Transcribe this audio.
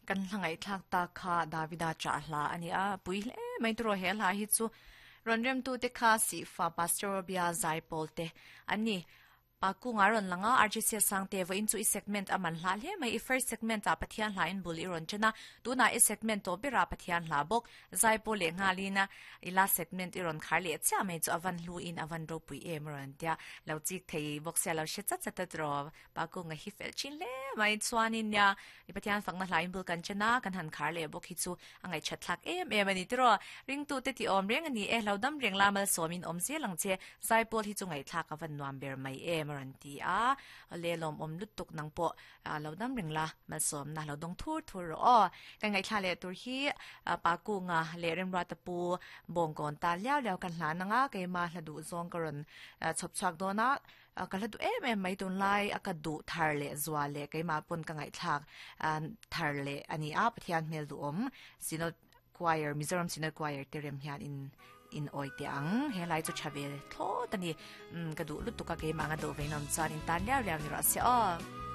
Kan hla ngaihthlak tak kha Davida chah hla a ni a, pui hle mai turaw he hla hi chu rawn remtute kha Sihfa Pastor Robia Zaipawl te an ni. Pa kunga rawn lang a, RGC Sangte vawiin chu i segment a man hlah hle mai, i first segment ah Pathian hla in bul i rawn chen a, tunah i segment tawh berah Pathian hla bawk Zaipawl leh nghalin a i last segment i rawn khar leh chiah mai chu a van hlu in a van ropui em a rawn tia, lo chik thei bawk sia lo hre chat chat a tiraw. Pa kunga hi fel thin hle mai chuanin nia i Pathian fakna hlain bul kan chen a, kan han khar leh bawk hi chu a ngaihchat thlak em em a ni tiraw. Ringtute ti awm reng a ni e, lo dam reng la malsawmin awm zel ang che, zaipawl hi chu ngaihthlak a van nuam ber mai em a rawn ti a, awle lawmawm lutuk nang pawh lo dam reng la malsawmna lo dawng thur thur rawh aw. Kan ngaihthla leh tur hi Pa Kunga leh Remruata Pu Bawngkawn ta liau liau kan hlan ang a, keimah hla duh zawng ka rawn chhawp chhuak dawn a, Ka hla duh em em mai tunlai a ka duh thar leh zual leh keimah pawn ka ngaihthlak thar leh a ni a, Pathian hmel duhawm Synod Choir Mizoram Synod Choir te rem hian in in awi teh ang he lai chu tha ve thlawt a ni ka duh lutuk a keimah anga duh ve nawm chuan in tan liau liau ni rawh se aw.